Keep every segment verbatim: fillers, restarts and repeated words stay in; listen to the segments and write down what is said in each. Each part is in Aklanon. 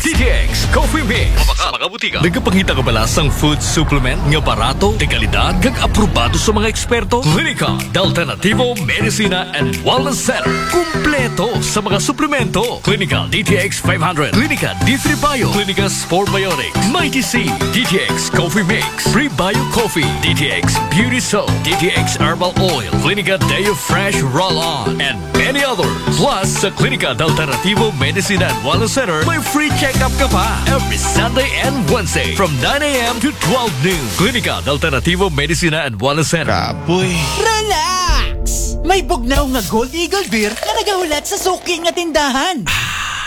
D T X Coffee Mix. Mabakal sa mga butika. Nagapangita ka bala sang food supplement nga barato, de kalidad, kag aprobado sa mga eksperto? Klinika de Alternativo Medicina and Wellness Center. Kumpleto sa mga suplemento. Klinika D T X five hundred, Klinika D three Bio, Klinika Sport Biotics, Mighty C, D T X Coffee Mix, Prebio Coffee, D T X Beauty Soap, D T X Herbal Oil, Klinika Deo Fresh Roll-On, and many others. Plus, sa Klinika de Alternativo Medicina and Wellness Center, may free check-up ka pa every Sunday and Wednesday from nine a.m. to twelve noon. Klinika de Alternativo Medicina and Wellness Center. Kapoy. Relax! May bugnaw nga Gold Eagle Beer nga nagahulat sa suki nga tindahan.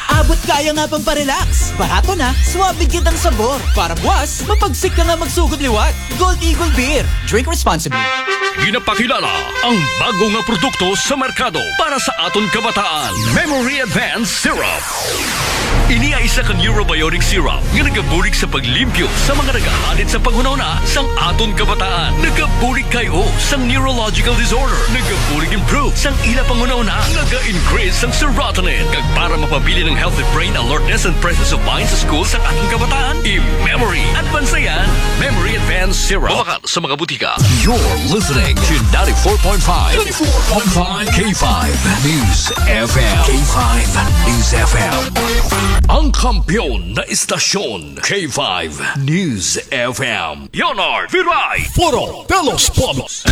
Abot kaya nga pang parelax. Barato na, suabe kitang sabor. Para buwas, mapagsik ka nga magsugod liwat. Gold Eagle Beer. Drink responsibly. Ginapakilala ang bago nga produkto sa merkado para sa aton kabataan. Memory Advance Syrup. Ini ay isa ka neurobiotic syrup nga nagabulig sa paglimpyo sa mga nagahalit sa panghunahuna sang aton kabataan. Nagabulig kay o sang neurological disorder. Nagabulig improve sang ila panghunahuna. Naga-increase sang serotonin. Kag para mapabilin ang healthy brain alertness and presence of mind sa school sang aton kabataan, i-memory. Advance na yan. Memory Advance Syrup. Mabakal sa mga butika. You're listening to ninety-four point five, ninety-four point five K five News F M. K five News F M. Ang kampiyon na istasyon, K five News F M. Leonard Viray. Foro de los Pueblos.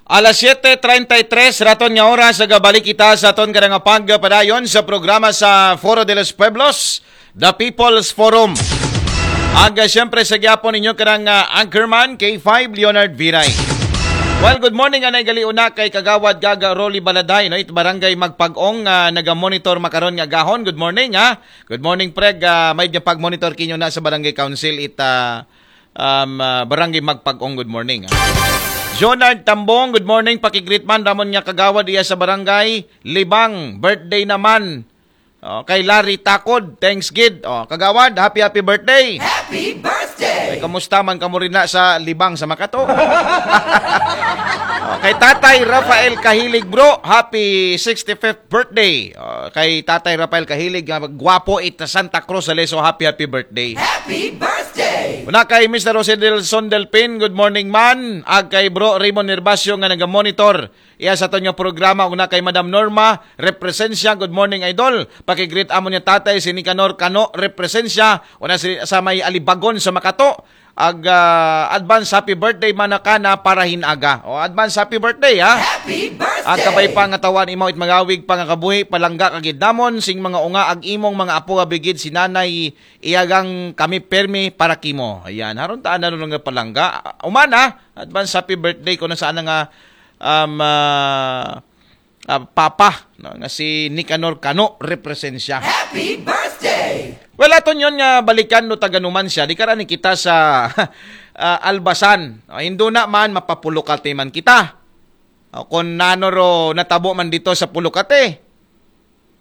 Alas siete treinta y tres raton nga oras, nagabalik kita sa aton kanang pagpadayon sa programa sa Foro de los Pueblos, The People's Forum. Ag, ah, siyempre, sa gyapon ninyo kanang, ah, anchorman, K five Leonard Viray. Well, good morning, anay gali una kay Kagawad Gaga Rolly Baladay, no? It Barangay Magpag-ong, ah, naga-monitor makaron nga gahon. Good morning, ha? Good morning, Preg. Ah, may dyan pag-monitor kinyo na sa Barangay Council, it, ah, um, ah, Barangay Magpag-ong. Good morning, ha? Jonard Tambong, good morning. Pakigreet man, Ramon nga Kagawad iya sa Barangay Libang. Birthday naman. Oh, kay Larry Takod, thanks gid. Oh, Kagawad, happy, happy birthday. Happy birthday! Ay, kamusta man kamo rin na sa Libang sa Makato? Oh, kay Tatay Rafael Kahilig, bro, happy sixty-fifth birthday. Oh, kay Tatay Rafael Kahilig, nga gwapo it Santa Cruz, Aleso, happy, happy birthday. Happy birthday! Una kay Mister Jose Delson Delpin, good morning man. Ag kay Bro Raymond Nervasio nga naga-monitor iya sa aton nga programa. Una kay Madam Norma Represencia, good morning, idol. Pakigreet amo niya tatay si Nicanor Cano Represencia, una si, sa may Alibagon sa Makato. Ag, ah, advance happy birthday man na kana para hinaga. O, advance happy birthday, ha? Happy birthday! Ag kabay pa nga tawan imaw it magawig pa nga kabuhi, palangga kagid namon sing mga unga ag imong mga apo, abigid si nanay iyagang kami permi para kimo. Ayan, haron taan na nga palangga. Umana, advance happy birthday ko na sana nga, um, ah, ah, papa, no, nga si Nicanor Cano Represencia. Happy birthday! Well, aton yon nga balikan no taga numan siya, di karani kita sa ah, Albasan. O, hinduna man, mapapulukate man kita. O, kung nano ro natabo man dito sa Pulukate.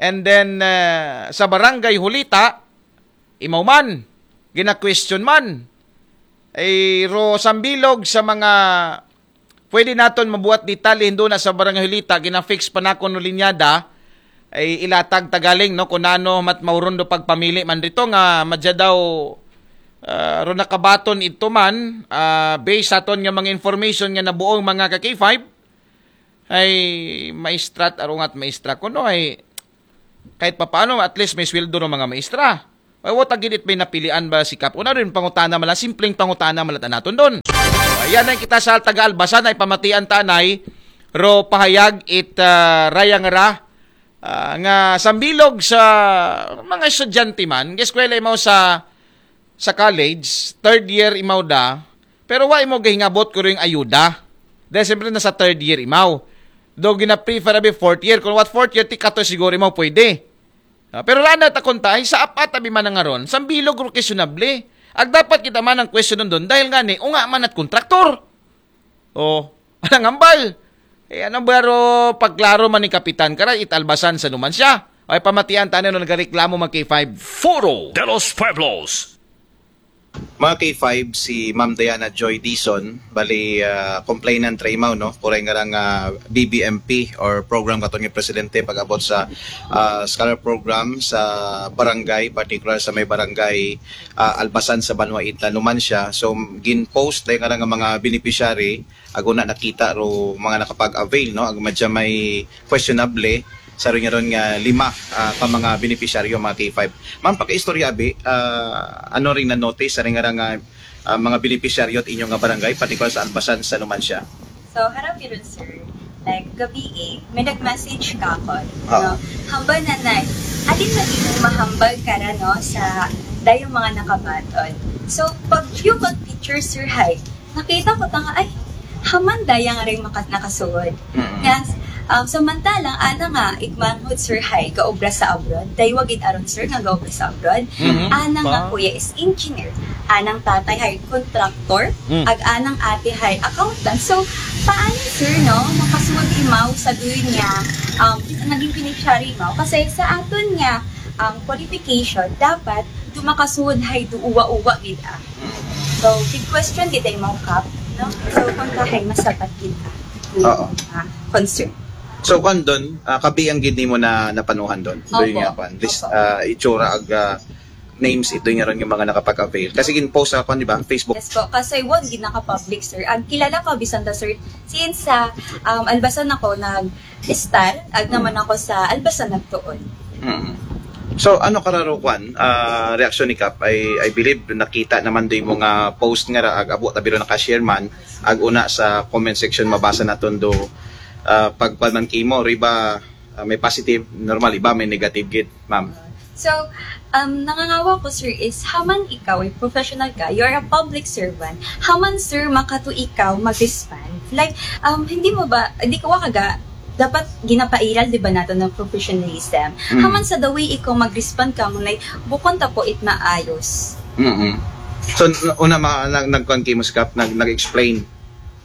And then, ah, sa Barangay Hulita, imaw man, gina-question man. Ay, ro sambilog sa mga pwede naton mabuhat detalye, hinduna sa Barangay Hulita, gina-fix pa nakon no linyada, ay ilatag tagaling, no, kung nano mat mauron do pagpamili man dito nga madya daw, ah, ro nakabaton ito man, ah, based sa aton nga mga information nga nabuong mga ka K five, ay maestra at arungat maestra. Kuno ay kahit papaano, at least may sweldo ng mga maestra. Ay, wa ta gid it may napilian ba si Kap? Una rin pangutana mala, simpleng pangutana mala ta naton doon. Ayan na kita sa taga Albasan ay pamatian tanay, ro pahayag it ah, rayang ra ah, nga sambilog sa mga estudyante man, eskwela imaw sa sa college, third year imaw da, pero wa imo gahingabot ko rin ayuda. Dahil siyempre nasa third year imaw. Do gina-prefer abi fourth year. Kung what fourth year, ti kato siguro imaw pwede. Ah, pero lana ta kunta, ay sa apat abi man nga ron, sambilog ro questionable. Ag dapat kita man ang question doon, dahil nga ni, unga man at kontraktor. O, anang hambal? Eh, anong baro pagklaro man ni Kapitan? Kara, italbasan sa numan siya. Ay, pamatian tayo nung nagareklamo mag K five. Foro de los Pueblos. Mga K five, si Ma'am Diana Joy Dizon, bali, ah, complainant ra imaw, no? Kuray nga rang, ah, B B M P or program katon nga presidente pag-abot sa, ah, scholar program sa barangay, particular sa may barangay, ah, Albasan sa Banwa Itla, Numancia. So, gin-post dayon nga rang mga beneficiary, ag una nakita ro mga nakapag-avail, no? Ag madya may questionable, sa ron nga ron nga lima, ah, ka mga beneficiaryo, mga K five. Ma'am, pakiistorya abi, ah, ano rin na-notice sa rin nga rang, ah, mga beneficiaryo at inyong nga barangay, particular sa Albasan sa Numancia? So, harap yun, sir. Like, gabi eh, may nag-message ka ako. Ah. No? Hambal na na, alin na di mo mahambal ka ra, no, sa dayong mga nakabaton. So, pag yung picture, sir, hay, nakita ko ta nga, ay, haman dayang rin maka- nakasuod. Mm-mm. Nga, um, samantalang, ana nga, igmanghod, sir, hay, gaobra sa abroad. Daywa gid aron, sir, nga gaobra sa abroad. Mhm. Ana nga Ba? kuya is engineer. Anang tatay hay contractor. Mm. Ag anang ate hay accountant. So, paano, sir, no? Makasuod imaw sa duyon nga, um, naging beneficiary imaw? Kasi sa aton nga, um, qualification, dapat dumakasuod hay duuwa-uwa gid, ah. So, big question gid ay mo, Kap, no? So, kung kahay masapat gid, ah, Oo. ah, concern. So, kwan doon, ah, kabi ang gid nimo na napanuhan doon. Doon Opo. Nga kwan. List, Opo. ah, itsura ag ah, names ito nga ron yung mga nakapag-avail. Kasi gin-post sa kwan, di ba? Facebook. Yes po, kasi wag gid naka-public, sir. Ang kilala ko, bisan ta, sir, since sa, um, Albasan ako nag-start, ag naman ako sa Albasan nagtuon. Mm. So, ano kararo kwan, ah, reaksyon ni Kap? I, I believe nakita naman doon mo nga post nga ra, ag abo tabiro naka-share man, ag una sa comment section mabasa naton do, ah, pagkwan man kimo, riba, ah, may positive, normal, iba may negative gid, ma'am. So, um, nangangawa ko, sir, is haman ikaw, ay professional ka, you're a public servant, haman, sir, makato ikaw mag-respond? Like, um, hindi mo ba, hindi ko kaga, dapat ginapairal, di ba, nato ng professionalism? Mm. Haman sa the way ikaw mag-respond ka mo, like, bukon ta po it maayos. Mm-mm. So, n- una ma, nag, nagkwan kimo si Kap, nag, nag-explain.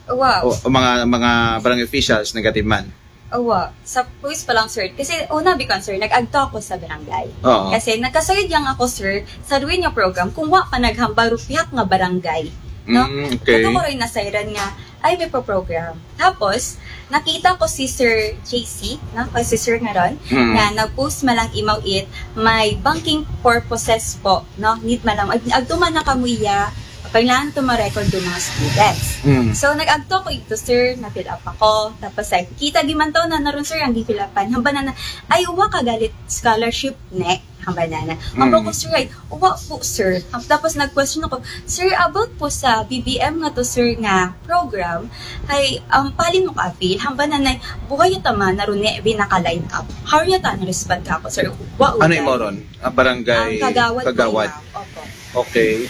Wow. O, o mga, mga barangay officials, negative man. Awa, sa post pa lang, sir. Kasi una, bikon, sir, nag-agto ako sa barangay. Oo. Kasi nagkasayod lang ako, sir, sa duwin nga program, kung wa pa naghambal ro pihak nga barangay. No? Mm, okay. Kato ko rin nasayran nga, ay, may pa-program. Tapos, nakita ko si Sir J C, no? Kay si Sir nga ron, Mm. na nag-post man lang imaw it, may banking purposes po, no? Need man lang, ag, agtuman na kamo iya, kailangan to ma-record yung mga students. Mm. So, nag-agto ko ito, sir, na-fill up ako. Tapos, ay, kita gimantaw na naroon, sir, ang gi-fill upan. Hamba na na, ay, uwa ka galit scholarship, ne? Hamba na na. Hamba Mm. ko, sir, ay, uwa po, sir. Tapos, nag-question ako, sir, about po sa B B M nga to, sir, nga program, ay, um, palin mo ka-avail? Hamba na na, buhay yung tama, naroon ne, binaka-line up. How yata na-respond ka ako, sir? Uwa, Ano uwa. yung moron? Ah, barangay Ang kagawad, Kagawad. Po, ma'am. Opo. Okay.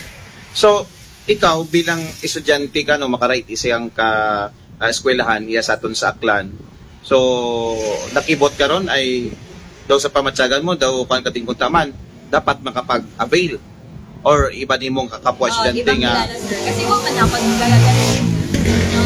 So, ikaw bilang estudyante ka, no, makarait isang ka ah, eskwelahan, iya sa aton sa Aklan. So, nakibot ka ron ay daw sa pamatyagan mo, daw kwan katingkuntaman, dapat makapag-avail or iba nimong kakapwa Oh, estudyante ibang nga. Kilala, sir. Kasi wa man ako nagkakaganit. No?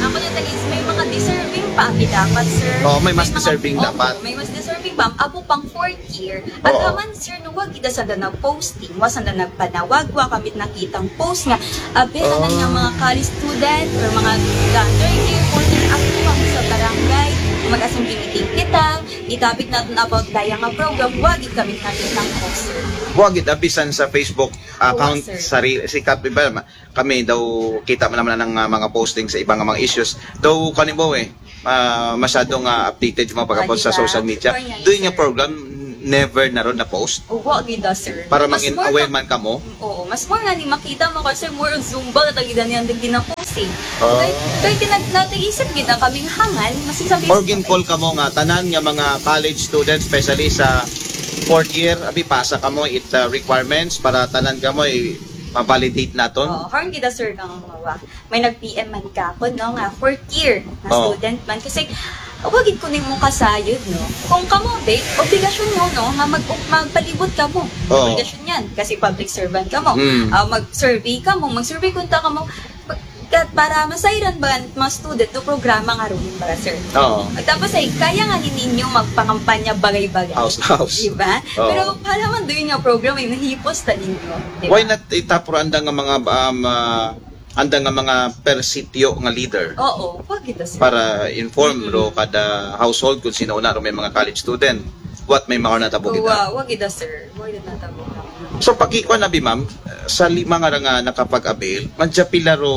Ako na talis, may mga deserving pa ang dapat, sir. Oo, may mas mga- deserving Opo, dapat. May mas deserving pa. Abo pang fourth year. At Oo. Aman, sir, nung wag kita sa danag posting, wa sa danag panawag, wa kamit nakitang post nga, abe, Oo. Kanan nga mga college student or mga third year, fourth year, ako kami sa barangay, mag-asong meeting kita, itapik natin about daya nga program, wag it kamit nakitang post, sir. Wa gid, ah, bisan sa Facebook account Wa, sir. Sarili, si Kap, iba, ma- kami daw kita man naman ng ah, mga posting sa ibang mga issues. Daw, kanimo eh, ah, masyado nga updated yung mga pagkapot sa Wa gid, social ah. media. Wa gid, Doon nga sir. Program, never na ron na-post? O, wa gid, ah, sir. Para Mas maging more aware ka- man kamo? Oo, mas more nga ni makita mo, kasi more Zumba, tagi na niyan, di ginapost eh. Oh. Kaya, kaya ginag-, nataisip gid na kaming hangan, mas sabi Or gin-call kamo nga tanan nga mga college students, especially sa fourth year, abi, pasa kamo it uh, requirements para tanan kamo i ma-validate naton. Oh, horn gid, sir, kang mawa. May nag-P M man ka ako, no, nga fourth year na Oh. student man. Kasi, wag gid ko nimo kasayod, no? Kung kamo, be, obligasyon mo, no, nga mag magpalibot kamo. Oh. Obligasyon yan. Kasi public servant kamo. Mm. Ah, mag-survey kamo. Mag-survey kunta kamo. Pag- Kat para masayran ba mga student do programa nga ruin ba, sir? Oo. Tapos ay, kaya nga ni ninyo magpangampanya bagay-bagay. House, house. Diba? Oo. Pero para man doon nga programa, yung nahipos na ninyo. Diba? Why not itapro anda nga mga um, ah, anda nga mga per sitio nga leader Oo, pag ito, sir. Para inform ro kada household kung sino una ro may mga college student. What may mga natabo kita. Wa, wag ito, sir. Wag ito natabo. So pakikuan abi, ma'am, sa lima nga ra nga nakapag-avail, madya pila ro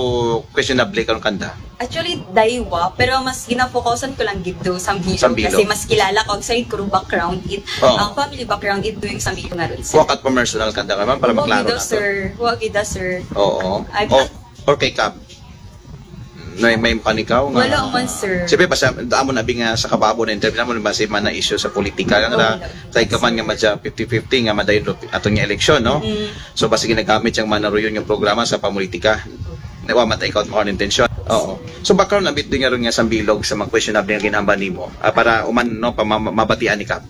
questionable karon kanda? Actually, daywa, pero mas ginafokusan ko lang gid do Sambilog. Sambilog. Kasi mas kilala ko, ang side ko ro background it, Oo. ang family background it doing Sambilog nga ron, sir. Wa kat personal kanda ka, ma'am, para Wag maklaro ito, na to. Sir. Wag ito, sir. Oo. Ay, Oh, or kay Kap? May may panikaw nga. Wala man, sir. Siyempre, basta damo na abi nga sa kababo na interview naman, basta man na issue sa politika lang ra. Oo. Kay kaman nga madya fifty fifty nga madayon ro aton nga eleksyon, no? Mm. So basta ginagamit yang manaruyon yung programa sa pamulitika. Wa man ta ikaw mo intensyon. Oo. So background na bit din nga ron nga Sambilog sa mga questionable nga ginhambal nimo. Ah, para uman, no, pa ma- mabatian ni Kap.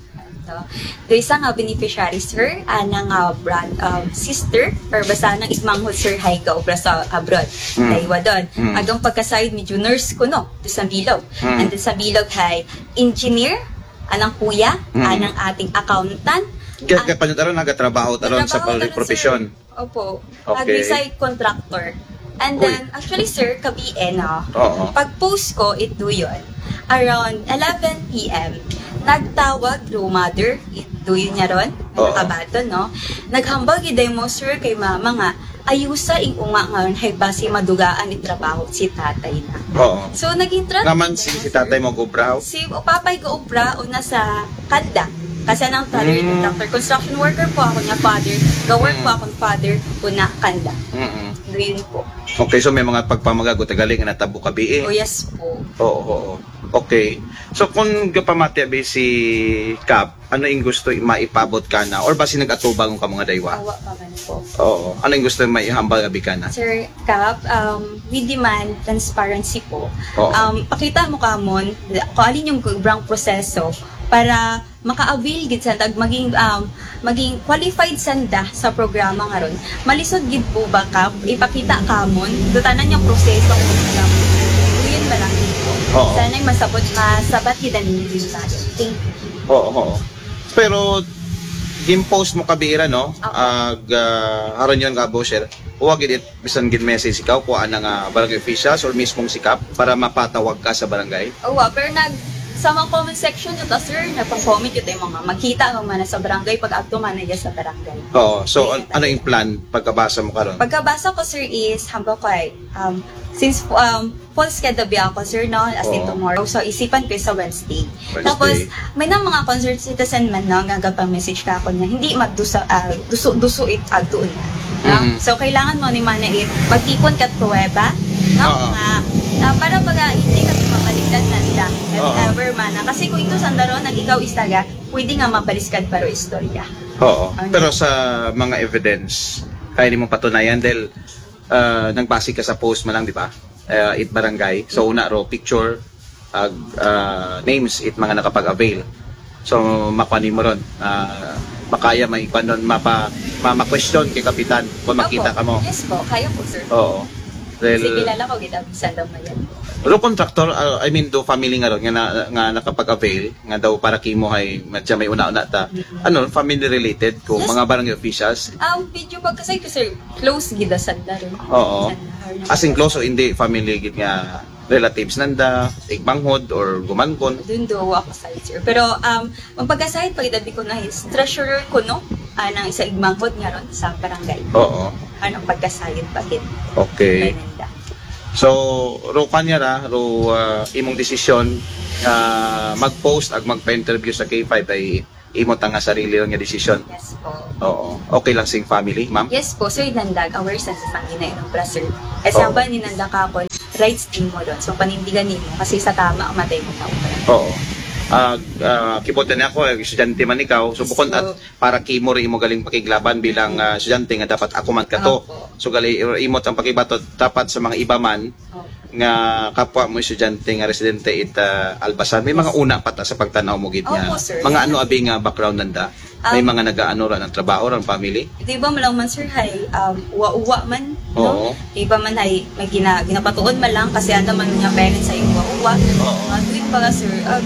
Do isa nga beneficiary, sir, anang nga brand um, sister, or basta anang igmanghod, sir, hay gaobra sa abroad. Mm. Daywa doon. Mm. Agang pagkasayod, medyo nurse ko, no, do Sambilog. Mm. And then Sambilog hay engineer, anang kuya, Mm. anang ating accountant. Kaya, kaya pa nyo taron, nagatrabaho taron sa Nagtrabaho pag- taron, profession. Sir. Opo. Okay. Nag-reside contractor. And Uy. Then, actually, sir, kabiin, no? Oo. Pag-post ko, it do yun. Around eleven p.m., nagtawag do mother, it do yun niya ron, Oo. nakabaton, no? Naghambal gid mo, sir, kay mama nga, ayusa ing unga nga ron, hay basi madugaan it trabaho si tatay na. Oo. So, naging tra- Naman si, si tatay mo gubraw? Si papay ko obra una sa kanda. Kasi anang father, Mm. doctor, construction worker po ako niya, father. Ga-work Mm. po akong father, una kanda. Mm-mm. Doon po. Okay, so may mga pagpamagago tagaling nga natabo kabi eh. Oh, yes po. Oo, oo. Okay. So kung gapamati abi si Kap, ano ing gusto maipabot ka na? Or basi nag-atubang ka mga daywa? Awa pa man po. Oo. Ano ing gusto maihambal abi ka na? Sir Kap, um, we demand transparency po. Oo. Um, pakita mo kamon kung alin yung gubrang proseso para maka-avail gid sanda, maging um, maging qualified sanda sa programa nga ron. Malisod gid po ba, Kap, ipakita kamon do tanan yung proseso ng programa. Yun ba lang po? Oo. Sana'y masabot, masabat gid ang ninyo tayo. Thank you. Oo, oo. Pero gin-post mo kabi ira, no? Opo. Ag uh, haron yun nga, Bosher. Huwag gid it bisan gin-message ikaw kung ana nga barangay officials or mismong si Kap para mapatawag ka sa barangay. Oo, pero nag sa mga comment section nyo ta, sir, nagpang-comment yun tayo mga magkita ang mana sa barangay pag agto mana iya sa barangay. Oo. So, Yes. an- ano yung plan pagkabasa mo karon? Pagkabasa ko, sir, is hambal ko ay um, since um, full schedule biya ako, sir, no? As in Oo. Tomorrow. So, isipan ko sa Wednesday. Wednesday. Tapos, may na mga concerned citizen man, no, nga gapang message ka ako niya, hindi magdusa, ah, dusu, dusu it agtuon na. No? Mm. So, kailangan mo ni mana it magtipon ka pruweba, no? Oo. Nga, ah, para baga, hindi ka mabaliktad nanda. If Oo. ever mana. Kasi kung ito sanda ron, nag ikaw istaga, pwede nga mabaliskad para istorya. Oo. Ano? Pero sa mga evidence, kaya nimo patunayan dahil uh, nagbase ka sa post man lang, di ba? Uh, it barangay. So, una ro, picture, ag uh, names, it mga nakapag-avail. So, makuha nimo ron. Uh, makaya may ikuan ron, mapa, ma, ma-question kay Kapitan kung makita Opo. Ka mo. Yes po, kaya po, sir. Oo. Kasi Dahil, kilala ko gid ang sandang mayan. pero contractor, uh, I mean, do family nga ron, nga, na, nga nakapag-avail, nga daw para kimo hay, madya may una-una ta. Ano, family related ko, Yes. Mga barangay officials? Ang video pagkasay ko, sir, close gid ang sanda ron. Oo. Sanda ron. As in close o hindi family gid nga relatives nanda, igmanghod or gumankon? Doon do ako side, sir. Pero um, ang pagkasayod, pag dabi ko na is treasurer ko, no? Anang isa igmanghod nga ron sa barangay. Oo. Anong pagkasayod pa gid? Okay. Kananda. So, ro kanya ra, ro uh, imong desisyon uh, mag-post ag magpa-interview sa K five ay imo ta nga sarili lang nga desisyon. Yes po. Oo. Okay lang sing family, ma'am? Yes po, sir, nandag aware sa sa ginainom pra, sir. Kasi Oo. Ang ba ni nanda ka ako, rights din mo doon. So, panindigan nimo kasi sa tama ang matay mo pa. Oo. Ah, ah, kibutan niya ako, eh, estudyante man ikaw. So, bukod at para kimo rin imo galing pakiglaban bilang ah, estudyante nga dapat ako man kato. Opo. So, gali imo tang pakibato dapat sa mga iba man Opo. Nga kapwa mo estudyante nga residente it ah, Albasan. May mga una pa ta sa pagtanaw mo gid nga. Opo, sir. Mga ano abi nga background nanda? May mga nagaano ra ng trabaho, ng family? Di ba mo lang man, sir, hay, um, uwa-uwa man, no? Oo. Di ba man, hay, may gina, ginapatuon man lang kasi ano man nga parents ay uwa-uwa. Oo. Uh, doing baga, sir, um,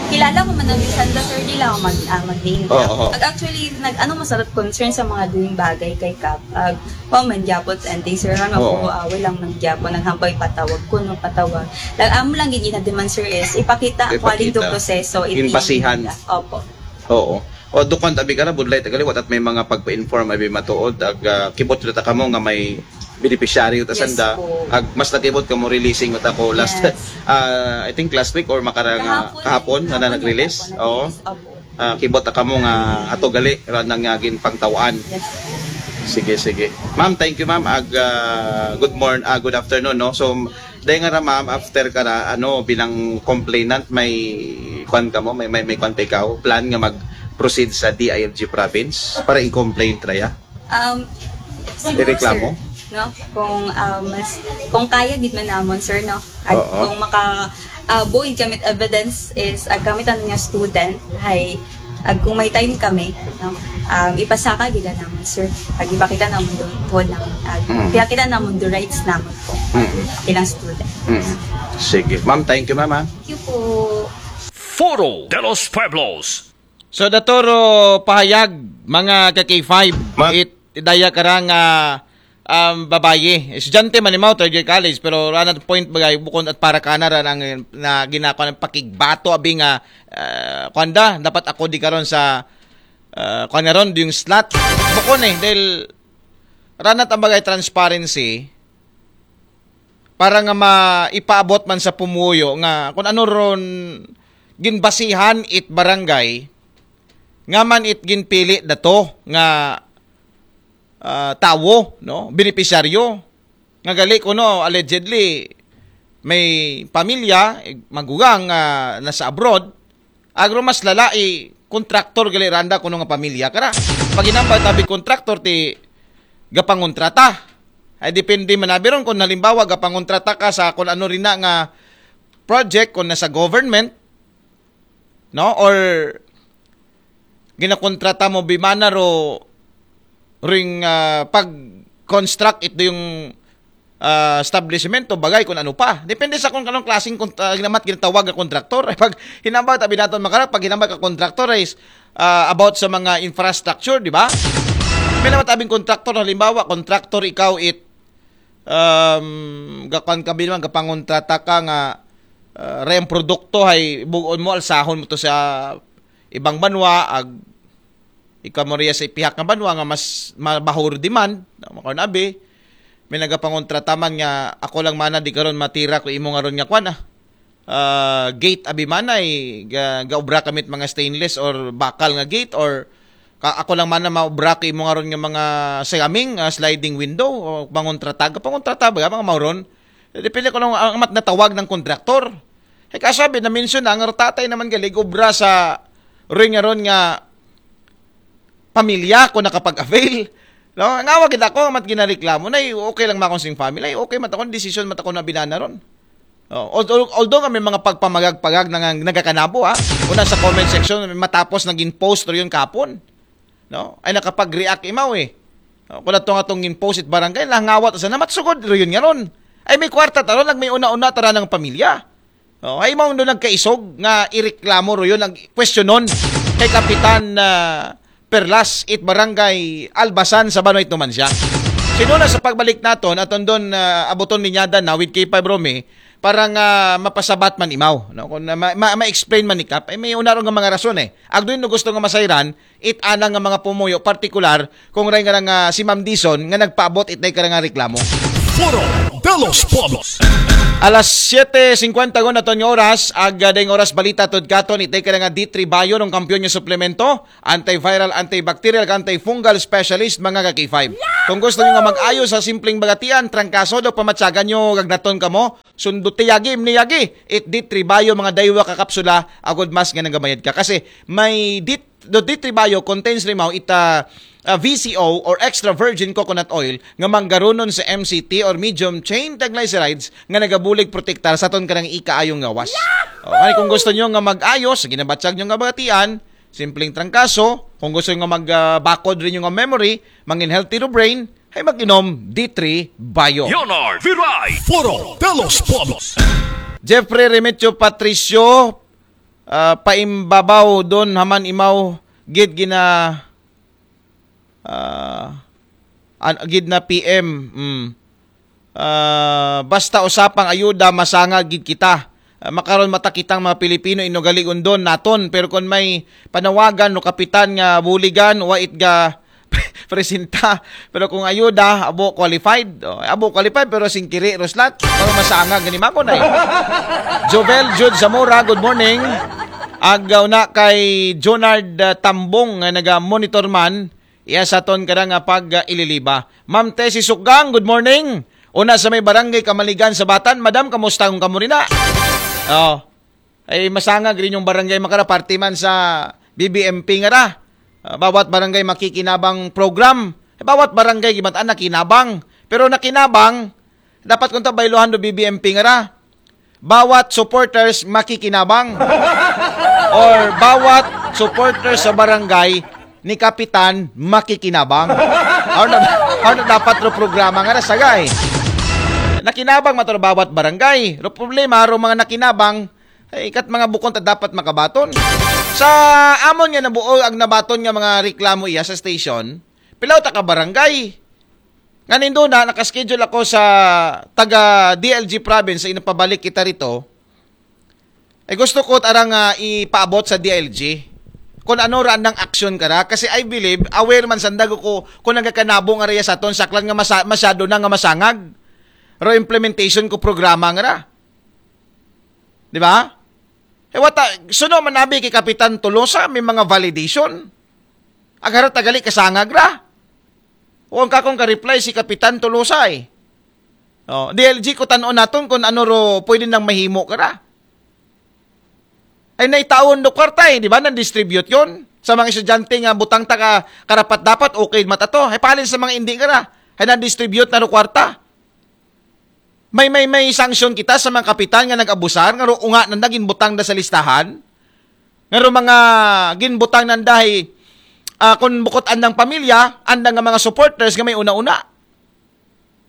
kilala ko man ang sanda, sir, di lang mag, uh, mag-name. Oo. Ag-, actually, nag, ano masarap concern sa mga doing bagay kay Kap. Ag, wa man gyapon, and sir, ano Oo. ko, uh, walang man gyapon, naghampay patawag ko, no, patawag. Lag, amo lang gid ina demand, sir, is ipakita, Ipakita. Quality do proseso, Yung basihan. Opo. Oo. O, dukan tabi ka na, budlay tagali, watat may mga pagpa-inform abi matuod, ag, ah, kibot ta kamo nga may beneficiary ta Yes sanda, po. Ag, mas nakibot kamo releasing ta ko last, Yes. ah, I think last week or makarang, ah, kahapon, na, na nag-release. Oo. Opo. Ah, kibot ta kamo nga ato gali, ra nang nga ginpangtawaan. Yes. Sige, sige. Ma'am, thank you, ma'am. Ag, ah, good morning, ah, good afternoon, no? So, dahil nga ra, ma'am, after ka ra, ano, bilang complainant, may kwan ka mo, may, may, may kwan pa ikaw, plan nga mag-proceed sa D I L G province para i-complain ra ya? Um, siguro, Ireklamo? Sir, no? Kung, um, mas, kung kaya gid man namon, sir, no? At Oo. Kung maka, uh, buoy gamit evidence is, ag gamit ang nga student, hay, ag kung may time kami, no? Um, ipasaka gid namon, sir. Ag ipakita namon doon, tuod namon. Ag, Mm. Ipakita namon the rights namon po. Mm. Bilang student. Mm. Sige. Ma'am, thank you, ma'am, ah. Thank you po. Foro de los Pueblos. So, daturo pahayag, mga ka-K five, Ma- it, daya karang, ah, um, babayi. Estudyante man imaw, third year college, pero ranat point bagay, bukon at para kana ra nang, na ginako ng pakigbato, abi nga, ah, kuwan da, dapat ako di karon sa, ah, kuwan nga ron, yung slot. Bukon eh, dahil ranat ang bagay transparency, para nga maipaabot man sa pumuyo nga kung ano ron ginbasihan it barangay, nga man it ginpili dato nga, ah, tawo, no, benepisyaryo, nga gali kuno allegedly may pamilya, magugang nga nasa abroad, agro mas lala i kontraktor gali randa kuno nga pamilya kara. Pag hinambay tabi kontraktor ti gapangontrata. Ay depende man abi ron kung halimbawa gapangontrata ka sa kung ano rin na nga project kung nasa government, no? Or ginakontrata mo bimana ro ring, ah, pag-construct ito yung, ah, establishment o bagay kung ano pa. Depende sa kung anong klaseng kont-, ah, ginamat ginatawag na kontraktor. Pag hinambay tabi naton makara, pag hinambay ka kontraktor is, ah, about sa mga infrastructure, di ba? May naman tabing kontraktor, halimbawa, kontraktor ikaw it, um, gakuan ka bilang, gapangontrata ka nga, ah, rayang produkto hay bugon mo, alsahon mo to sa ibang banwa, ag ikaw mo riya sa ipihak nga banwa nga mas mabahor demand, no? Makaon abi, may nagapangontrata man nga ako lang mana di karon matira ko imo nga ron nga kwan, ah. Ah, gate abi manay, ga, gaobra kamit mga stainless or bakal nga gate or ka, ako lang mana maobra ko imo nga ron nga mga sayaming, ah, sliding window o pangontrata, pangontrata ba mga mauron? Depende ko lang ang amat natawag ng kontraktor. Ay kasabi na mention na ang tatay naman galig obra sa ring nga ron nga pamilya ko nakapag-avail. No? Ang awag kita ko, mat ginareklamo na, eh, okay lang makon sing family, ay okay matakon, decision matakon na binana ron. Oh, although, although nga may mga pagpamagag-pagag na nga nagakanabo, ha? Una sa comment section, may matapos naging post ro yun kapon. No? Ay nakapag-react imaw eh. Oh, kung atong atong in-post it barangay, langawat sa namat sugod ro yun nga ron. Ay may kwarta taron, lag may una-una tara ng pamilya. Oh, ay mao nagkaisog nga ireklamo ro yun ang kwestiyonon kay Kapitan, ah, Perlas it Barangay Albasan sa Banoy Numancia. Sinuna sa pagbalik naton, aton doon, ah, abuton linyada na with K five Romy para nga mapasabat man imaw, no? Kung na, ma, ma, ma-explain man ni Kap, ay may una ron nga mga rason eh. Agdoy no gusto nga masayran, it anang nga mga pumuyo, partikular kung ray nga nga si Ma'am Dison nga nagpaabot it day ka nga reklamo. Foro de los Pueblos. Alas siete cincuenta gon aton nga oras, ag, ah, dayng oras balita tod katon, itay ka nga D three Bio ng kampiyon nga suplemento, antiviral, antibacterial, antifungal specialist, mga ka K five. Kung gusto nyo nga mag-ayo sa simpleng bagatian, trangkaso daw pamatyagan nyo, gagnaton kamo, sundo ti yagi, imni yagi, it D three Bio, mga daywa ka kapsula, agod mas nga nagabayad ka. Kasi may D, the D three Bio contains rimaw ita, ah, V C O or extra virgin coconut oil nga manggarunon sa M C T or medium chain triglycerides nga nagabulig protektar sa aton kanang ikaayong gawas. O, kani kung gusto nyo nga mag-ayos sa ginabatyag nyo nga bagatian, Simpleng trangkaso, kung gusto nga magbakod rin yung memory, mangin healthy ro brain, ay mag-inom D three Bio. Leonard Viray. Foro de los Pueblos. Jeffrey Remetio Patricio, ah, paimbabaw don haman imaw gid gina, ah, an-, gid na P M. Mm. Ah, basta usapang ayuda, masanga gid kita. Ah, makaron mata kitang mga Pilipino, inugaligon don naton. Pero kung may panawagan no kapitan nga buligan, wa it ga presenta. Pero kung ayuda, abo qualified. Oh, abo qualified, pero singkiri, Roslat. Pero masanga gani mako na eh. Jovel Jude Zamora, good morning. Agaw na kay Jonard, ah, Tambong nga naga-monitor man, iya sa ton kada nga pag, ah, ililiba. Ma'am Tessie Sukgang, good morning. Una sa may barangay Kamaligan sa Batan, Madam, kamusta kung kamo rin na? Oh. Ay masangag rin yung barangay makara, parte man sa B B M P nga ra. Ah, bawat barangay makikinabang program. Bawat barangay gibataan nakinabang. Pero nakinabang, dapat kung ta bayluhan do B B M P nga ra. Bawat supporters makikinabang. Or bawat supporters sa barangay ni Kapitan makikinabang. Ano na, ano na dapat ro programa nga nasagay? Nakinabang matro bawat barangay. Ro problema, ro mga nakinabang, ay, kat mga bukon ta dapat makabaton. Sa amon nga nabuo ang nabaton nga mga reklamo iya sa station, pilaw ta ka barangay. Nga nindo na, nakaschedule ako sa taga D L G province sa inapabalik kita rito. Ay gusto ko tarang, ah, ipaabot sa D L G kung ano ra andang aksyon kara. Kasi I believe, aware man sandag ko kung nagakanabong area sa aton saklan nga masa-, masyado na nga masangag. Ro implementation ko programa nga ra. Di ba? Eh, wata, suno man abi kay Kapitan Tolosa, may mga validation. Agara tagali kasangag ra. Huwag ka kong ka-reply si Kapitan Tolosa eh. Oh, D L G ko tanon naton kung ano ro pwede nang mahimo ka ra. Ay naitaon do kwarta eh, di ba? Nang distribute yon sa mga estudyante nga butang ta ka karapat dapat, okay mata to. Ay palin sa mga hindi ka ra. Ay nang distribute na ro kwarta. May, may, may sanction kita sa mga kapitan nga nag-abusar, nga ro unga na naging butang da sa listahan. Nga ro mga ginbutang nanda ay, ah, kung bukod andang pamilya, andang nga mga supporters nga may una-una.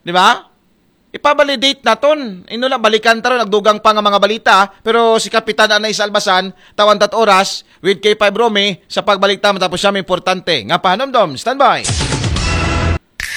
Di ba? Ipabalidate naton. Ino na, balikan taro, nagdugang pa nga mga balita, pero si Kapitan Anais Albasan, tawan tat oras, with K five Romy, sa pagbalik ta, matapos siya, may importante. Nga pahanomdom, standby.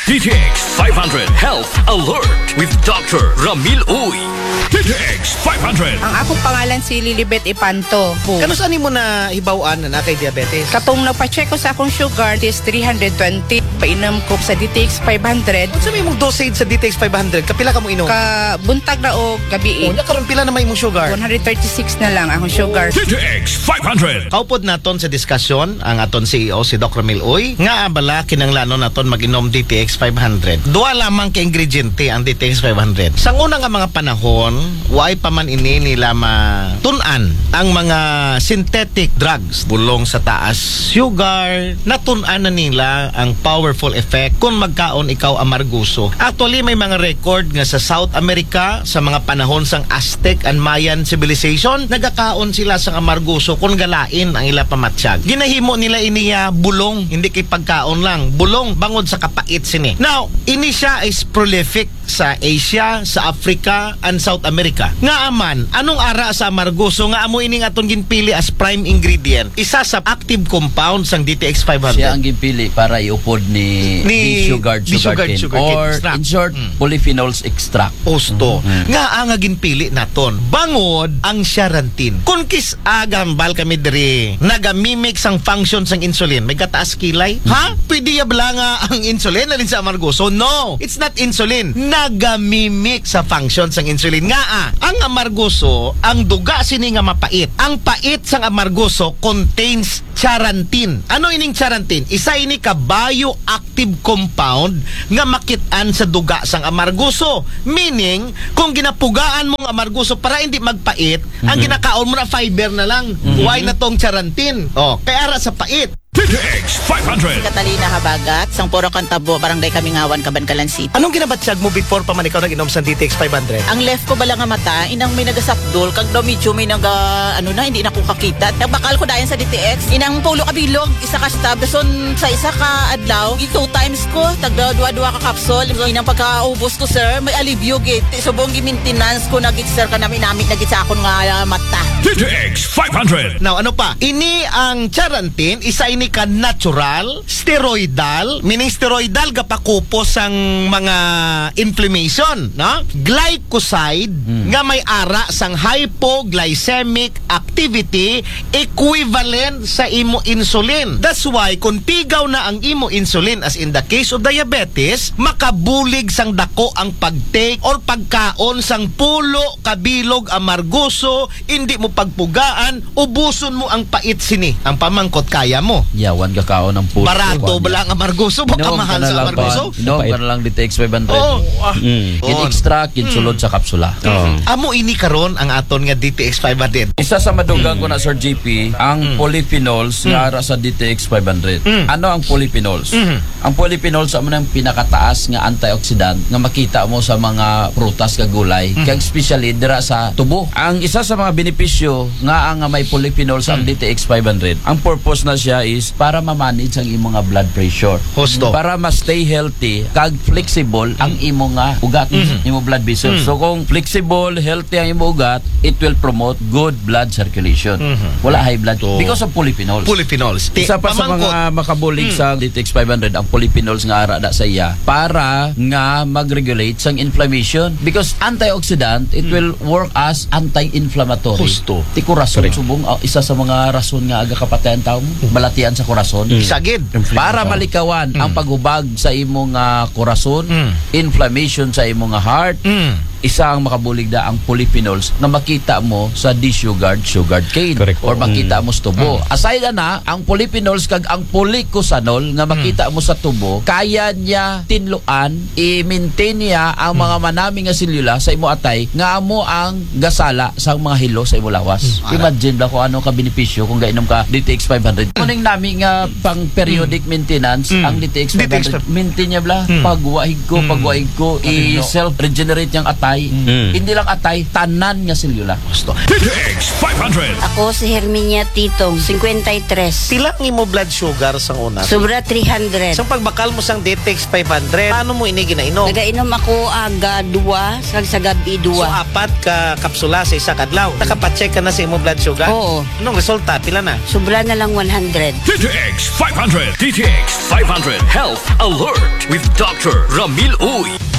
D T X five hundred Health Alert with Doctor Ramil Uy. D T X five hundred. Ang akong pangalan si Lilibet Ipanto. Kanus-a nimo nahibaw-an na naa kay diabetes? Katong nagpa-check ko sa akong sugar, is three hundred twenty. Painom ko sa D T X five hundred. Unsa may imong dosage sa D T X five hundred? Kapila ka mo inom? Ka buntag na o gabi. Oh, nya karon pila na may imong sugar? One hundred thirty-six na lang akong sugar. D T X five hundred. Kaupod naton sa diskusyon ang aton C E O, si Doc Ramil Uy, nga abala kinanglanon naton mag-inom D T X five hundred. Duha lamang ka ingrediente ang D T X five hundred. Sa una nga mga panahon, waay pa man ini nila matun-an ang mga synthetic drugs. Bulong sa taas sugar, natun-an na nila ang powerful effect kung magkaon ikaw amarguso. Actually, may mga record nga sa South America, sa mga panahon sang Aztec and Mayan civilization, nagakaon sila sa amarguso kung galain ang ila pamatyag. Ginahimo nila iniya bulong, hindi kay pagkaon lang. Bulong bangod sa kapait sini. Now, ini siya is prolific sa Asia, sa Africa, and South America. Nga aman, anong ara sa amarguso nga amo ining atong ginpili as prime ingredient? Isa sa active compound sang D T X five hundred. Siya ang ginpili para iupod ni, ni, ni Shugard, ni Shugard sugarcane, sugarcane or extract. In short, mm, polyphenols extract. Osto. Mm. Nga ang ginpili naton. Bangod ang charantin. Kung kis-a gambal kami diri, nagamimic sang function sang insulin, may kataas kilay. Ha? Pwede ya bala nga ang insulin alin sa amarguso? No, it's not insulin. Nagamimic sa function sang insulin. Nga ah, ang amarguso, ang duga sini nga mapait. Ang pait sang amarguso contains charantin. Ano ining charantin? Isa ini ka bioactive compound nga makit-an sa duga sang amarguso. Meaning, kung ginapugaan mong amarguso para hindi magpait, ang, mhm, ginakaon mo na fiber na lang. Mhm. Why na tong charantin? Oh, kay ara sa pait. D T X five hundred. Catalina Habagat, sang Puro Cantabo, Barangay Kamingawan, Kabankalan City. Anong ginabatyag mo before pa man ikaw nag-inom sa D T X five hundred? Ang left ko bala nga mata, inang may nagasapdol, kag daw medyo may naga, ano na, hindi na ko kakita. Nagbakal ko dayon sa D T X, inang pulo ka bilog, isa ka stab, dason sa isa ka adlaw, i-two times ko, tagda dua-dua ka capsule. So, inang pagkaubos ko, sir, may alibyo gid. Subong gi-maintenance ko na gid, sir, kanami-nami na gid sa akon nga, ah, mata. D T X five hundred. Now, ano pa? Ini ang Charantin, isa ini ka natural, steroidal, meaning steroidal gapakupos sang mga inflammation, no? Glycoside nga may ara sang hypoglycemic activity equivalent sa imo insulin. That's why kung pigaw na ang imo insulin, as in the case of diabetes, makabulig sang dako ang pag-take or pagkaon sang pulo ka bilog amargoso, hindi mo pagpugaan, ubuson mo ang pait sini. Ang pamangkot, kaya mo? Yawan ka kaon ang pulo. Barato ba lang ang amargoso? Baka mahal sa amargoso? Inom ka na lang D T X five hundred. Oh, ah. Mm. Gin-extract, ginsulod sa kapsula. Amo ini karon ang aton nga D T X five hundred. Isa sa madugang ko na, Sir G P, ang polyphenols nga ara sa D T X five hundred. Ano ang polyphenols? Ang polyphenols amo nang pinakataas nga antioxidant nga makita mo sa mga prutas kag gulay, kag especially dira sa tubo. Ang isa sa mga benepisyo nga ang may polyphenols ang D T X five hundred, ang purpose na siya is para ma-manage ang imong nga blood pressure. Husto. Para ma-stay healthy kag flexible ang imo nga ugat, imo blood vessels. So kung flexible, healthy ang imo ugat, it will promote good blood circulation. Wala high blood because of polyphenols. Polyphenols. Isa pa sa mga makabulig sa D T X five hundred, ang polyphenols nga ara da sa iya para nga mag-regulate sang inflammation. Because antioxidant, it will work as anti-inflammatory. Husto. Ti kurason, subong, ah, isa sa mga rason nga aga kapatay ang tao, balatian sa kurason. Sagid. Para malikawan ang paghubag sa imo nga kurason, inflammation sa imo nga heart, isa ang makabulig da ang polyphenols nga makita mo sa desugared sugarcane or makita mo sa tubo. Aside ana, ang polyphenols kag ang polycosanol nga makita mo sa tubo, kaya niya tinluan, i-maintain niya ang mga manami nga selula sa imo atay nga amo ang gasala sa mga hilo sa imo lawas. Imagine ba kung ano ka benepisyo kung gainom ka D T X five hundred. Kuning nami nga pang periodic maintenance, ang D T X five hundred, maintain niya bala. Pagwaig ko, pagwaig ko, i-self-regenerate niyang atay. Hindi lang atay, tanan nga selula. Gusto. D T X five hundred. Ako si Herminia Titong, fifty-three. Pila ang imo blood sugar sang una? Sobra three hundred. Sa pagbakal mo sang D T X five hundred, paano mo ini ginainom? Nagainom ako aga dua, sa, sa gabi dua. So, apat ka kapsula sa isa ka adlaw. Nakapacheck ka na sa imo blood sugar? Oo. Anong resulta? Pila na? Sobra na lang one hundred. D T X five hundred. D T X five hundred Health Alert with Doctor Ramil Uy.